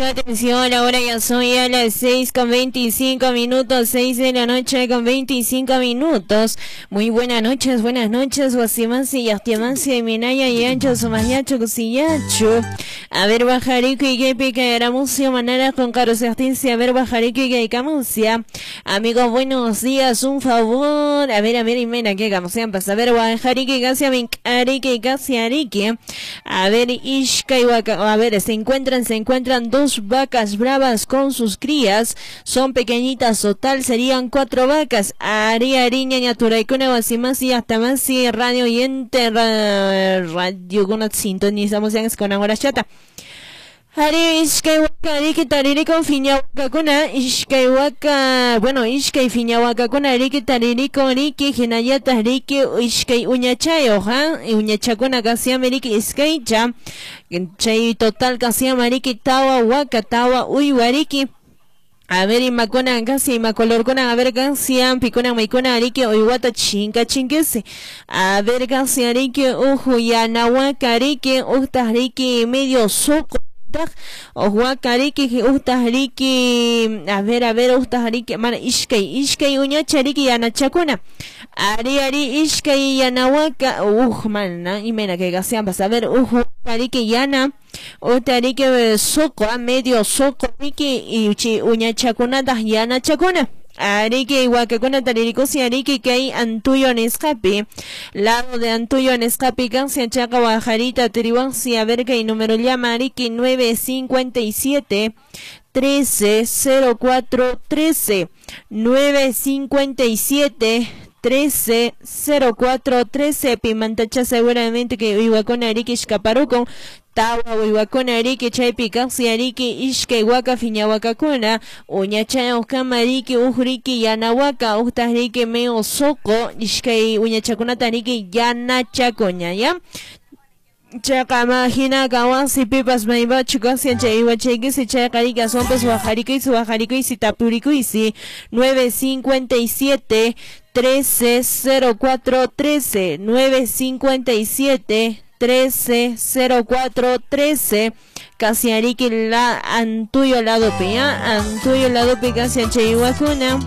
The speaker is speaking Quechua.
Atención, ahora ya son ya las 6:25, 6 de la noche con 25 minutos. Muy buenas noches, Guasimasi, Yastiamasi, Minaya, Yancho, Sumayacho, Cusillacho. A ver, Bajarico y Gepica, Eramucio, Manara, con Carlos Artincia. A ver, Bajarico y Geicamucia. Amigos, buenos días, un favor. A ver, Imena, que hagamos, sean a ver, Bajarico y Gasia, Mincarique y Gasia, Arique. A ver, Ishka y Waka. A ver, se encuentran dos vacas bravas con sus crías, son pequeñitas, total serían 4 vacas. Ari, ari, ñaña, turaicuna, guasimasi, hasta masi, radio oyente, radio, una sintonizamos en con ahora chata. Ari, ishkay waka, riki taririkon fiñawakakuna, ishkay waka, bueno, ishkay fiñawakakuna, riki taririkon, riki, hinayata, riki, ishkay uñachayo, ha, uñachakuna, kasiame, riki, iskaycha, chay total, kasiama, riki, tawa, waka, tawa, uywa, riki. A ver, imakuna, casi imacolorcuna, a ver, casi ampicuna, maicuna, arique, uywata, chinca, chinquese. A ver, casi arique, uju, yanahuaca, arique, ujta, arique, medio soco. Ohuacariki, uhtajariki, a ver, uhtajariki, mana, ishkay, uñachariki, yanachakuna. Ari, ari, ishkay, yanahuaca, uj, mana, y mena que gasean, a ver, uj, ariki, yana, uhtariki, soco, a medio soco, riki, y chi, uñachakuna, yanachakuna. Arique, Huacacuna, Taririkusi, Arique, Kay, Antuyo, Nescapi, lado de Antuyo, Nescapi, Gancia, Chaca, Guajarita, Tirihuansi, a ver, y número llama, Arique, 957 13 04 13, 957 13 04 13, Pimantacha, seguramente que Huacona, Arique, Xcaparuco, Tawa, Huacona, Arique, Chaypi, Kasi, Arique, Ishkay, Huaca, Fiñahuacacuna, Uñachay, Ojkama, Arique, Ujrique, Yanahuaca, Ujtajrique, Meo, Soco, Ishkay, Uñachacunata, Arique, Yanachacoña, ¿ya? Chaca, imagina, Kawasi, Pipas, Maiba, Chucasia, Chaywa, Chequisi, Chaycarica, Sompas, Guajarico, Guajarico, y Tapurico, y 957 13 04 13, 957 13 04 13, casi Arique, la Antuyo, lado P, Antuyo, lado P, casi Chayhuacuna.